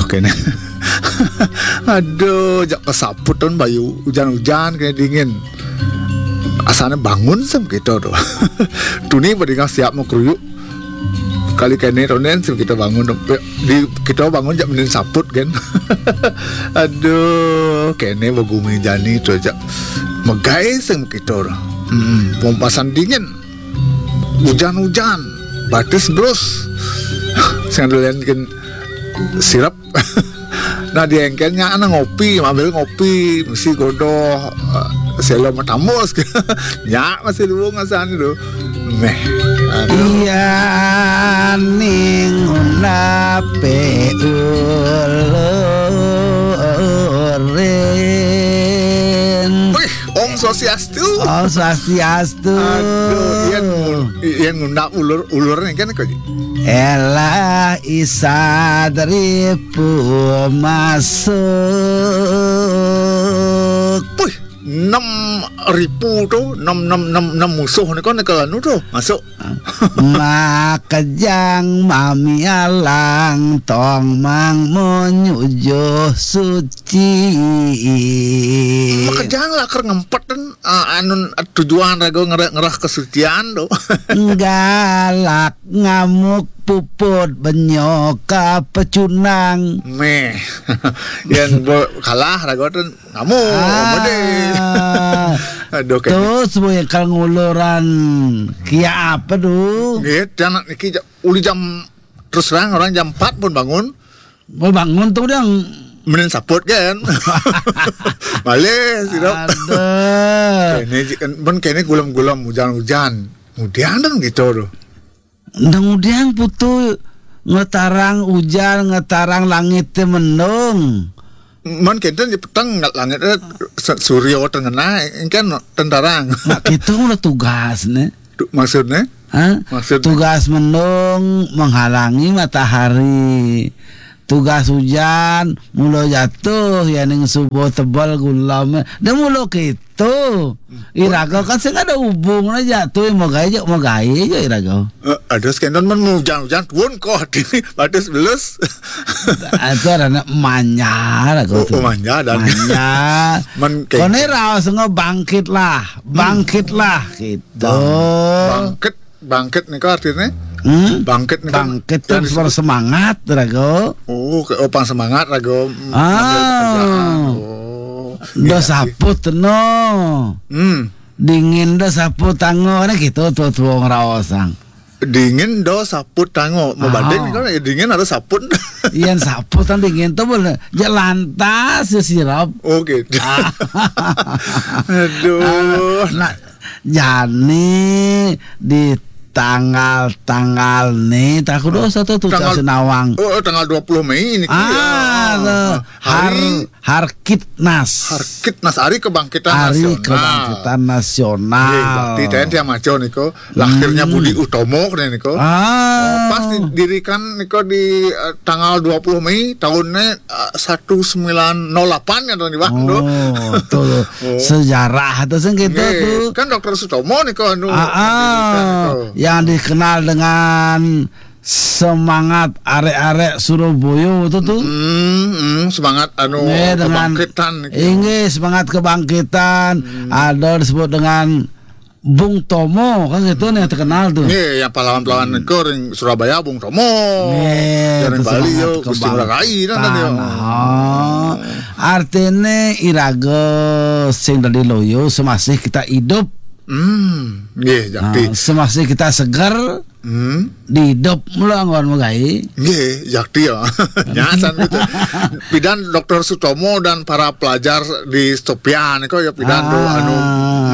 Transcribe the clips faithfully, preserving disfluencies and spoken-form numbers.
Kéné. Aduh, jak kasaput tun bayu ujan-ujan kéné dingin. Asané bangun sem kita tuh. Tuni pada nggak siap mau keruyuk. Kali kéné tonen sem kita bangun tuh. Di kita bangun jak mending saput kan. Aduh, kéné begumi jani tuh jak. Megai sem kita tuh. Hmm, pompasan dingin. Ujan-ujan, batis blus. Sing dolen sirap. Nah, di engkelnya ana ngopi, ambil ngopi, mesti godoh, eh, selo matamus. Nya masih luwung asan itu. Meh. Aduh. Iya ning nape ulurin. Wih, Om Swastiastu. Om Swastiastu. Aduh, yang ngun- yang ngundang ulur-ulur nih kan kok. Elah isadripu masuk. Wih, enam ribu tuh, enam enam enam enam musuh nih kan kalau anu tuh masuk. Makejang mamialang tong mang menyujuh suci. Makejang lah ker ngempet dan, eh, anun, eh, tujuan rago ngerah, ngerah kesucian tuh. Galak ngamuk puput benyok pecunang. Meh. Yang bo- kalah rago tuh ngamuk. Ah. Aduh, kayak terus boy kalau nguluran kia apa tuh? Gitu, anak niki ja- uli jam terus terang orang jam empat pun bangun. Mau bangun tuh udah. Mending saput kan. Balik sih dok. Aduh. Kene ji- kan ben kene gulam-gulam hujan-hujan. Kemudian dan gitu tuh. Ndang udiang putu ngetarang ujan, ngetarang langit te mendung. Man kenten di peteng nggak langit, eh, se- suryo tengena, engken tentarang. Nah, kita udah tugas nih. Tu- maksudnya? Hah? Maksudnya? Tugas mendung menghalangi matahari. Tugas hujan mulo jatuh ya ning subuh tebal gulam. Dan mulo kita Tuh, iraga kan sing ada hubung aja tuh mau gaya aja mau gaya aja iraga. Eh, ada sekenton men hujan-hujan tuun kok di batas belus. Itu ada anak manja lah kau Oh, tuh. Oh, manja dan manja. Men kayak kone raos ngebangkit lah, bangkit lah gitu. Bang- bangkit Bangkit nih kok artinya? Hmm? Bangkit nih kan. Bangkit tuh yang disebut bersemangat, rago. Oh, ke opang semangat rago. Ah. Oh. Dos iya, saput no. Hmm. Dingin dos saput tango, nah gitu tuh tuh ngeraosang. Dingin dos saput tango. Mau badai nih kan ya dingin ada saput. Iyan saput kan dingin tuh boleh. Ya lantas ya sirap. Oh gitu. Ah. Aduh. Ah, nah, Jani di tanggal-tanggal nih tak kudu satu tuh tanggal Sinawang. Oh, tanggal dua puluh Mei ini ah, ya. Tuh, hari Har Harkitnas. Harkitnas hari kebangkitan hari nasional. Kebangkitan nasional. Iya, berarti T N T yang maco niko lahirnya hmm. Budi Utomo nih niko. Ah. Pas didirikan niko di uh, tanggal dua puluh Mei tahunnya uh, seribu sembilan ratus delapan ya tahun di waktu. Oh, tuh. Oh. Sejarah atau sing gitu tuh. Kan dokter Sutomo nih kok anu. Ah, ah, yang dikenal dengan semangat arek-arek Surabaya itu tuh. Hmm, hmm, semangat anu nggih, dengan kebangkitan gitu. Inggih, semangat kebangkitan. Hmm. Ada disebut dengan Bung Tomo kan gitu nih terkenal tuh. Nih yang pahlawan-pahlawan hmm. Ke ring Surabaya Bung Tomo. Nih, yang ring Bali yo Gusti Ngurah Rai kan tadi. Oh. Artinya iraga sing dadi loyo semasih kita hidup. Hmm, nggih, jakti. Nah, semasih kita segar hmm. Di hidup mula anggon megai. Nggih, jakti ya. Nyasan gitu. Pidan dokter Sutomo dan para pelajar di Stopian kok ya pidan ah. Tuh anu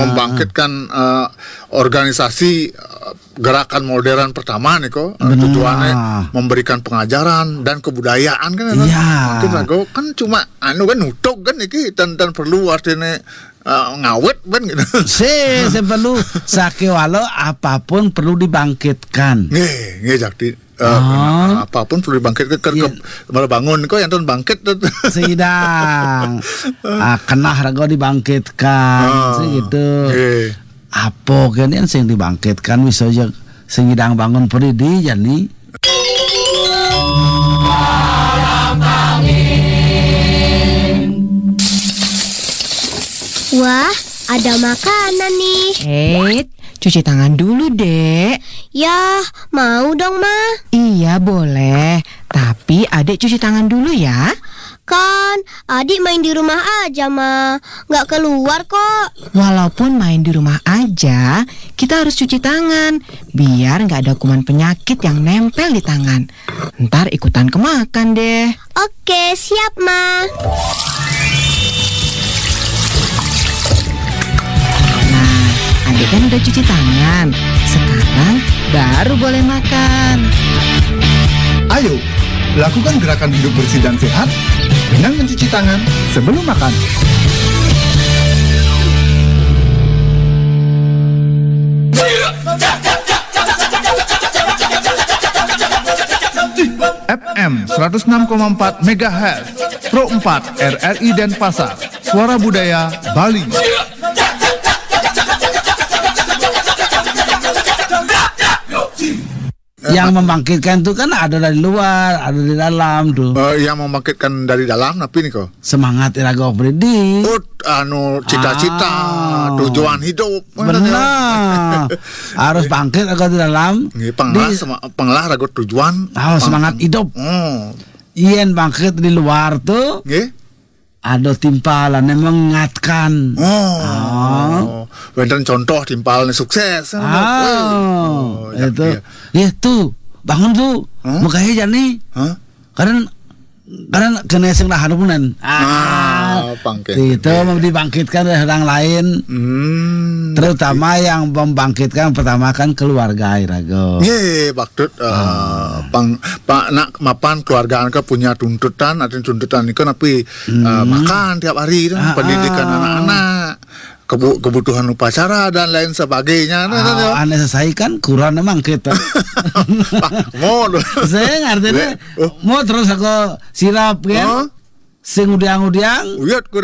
membangkitkan uh, organisasi uh, gerakan modern pertama nih kok uh, tujuannya memberikan pengajaran dan kebudayaan kan ya. Mungkin rago kan cuma anu kan nutuk kan iki dan dan perlu artinya uh, ngawet kan gitu. Si, si perlu sakewala apapun perlu dibangkitkan. Nggih, nggih jakti. Uh, oh. Apapun perlu dibangkitkan ke, ke, yeah. Malah bangun kok yang tahun bangkit tuh. Sidang ah, kenah raga dibangkitkan oh. Gitu. Nggih. Apa kan yang sing dibangkitkan bisa aja sing hidang bangun peridi jani. Ada makanan nih. Eh, cuci tangan dulu, Dek. Ya, mau dong, Ma. Iya, boleh. Tapi Adek cuci tangan dulu ya. Kan, Adik main di rumah aja, Ma. Nggak keluar kok. Walaupun main di rumah aja, kita harus cuci tangan. Biar nggak ada kuman penyakit yang nempel di tangan. Ntar ikutan kemakan deh. Oke, siap, Ma. Nah, Adek kan udah cuci tangan. Sekarang baru boleh makan. Ayo, lakukan gerakan hidup bersih dan sehat dengan mencuci tangan sebelum makan. F M seratus enam koma empat megahertz, Pro empat R R I Denpasar, Suara Budaya Bali. Yang membangkitkan itu kan ada dari luar, ada di dalam tuh. Eh, yang membangkitkan dari dalam, tapi nih kok. Semangat iraga Fredi. Oh, anu, cita-cita, ah, tujuan hidup. Benar. Harus bangkit iraga di dalam. Nggih, panglah, di sema-, panglah raga tujuan. Oh, semangat hidup. Oh. Yen bangkit di luar tuh. Nggih. Ada timpalan yang mengingatkan. Oh. Ah. Wénten contoh timpalan sukses. Oh, ya, itu. Ya. Ya, tuh, bangun tuh. Hah? Makanya jani. Hah? Kadang, kadang kena sing tahan punan. Ah, pangkit. Itu mau dibangkitkan oleh orang lain. Hmm. Terutama yang membangkitkan pertama kan keluarga, iraga. Nggih, maksud, eh, pang, pa, nak mapan keluarga nika punya tuntutan, artinya tuntutan nika napi, eh, makan tiap hari, kan, pendidikan anak-anak, kebu-, kebutuhan upacara dan lain sebagainya. Nah, nah, nah. Aneh saya kan kurang emang kita. Pak, mau. Saya ngerti deh. Oh. Mau terus aku sirap, kan? Oh. Sing udiang-udiang. Uyut kuda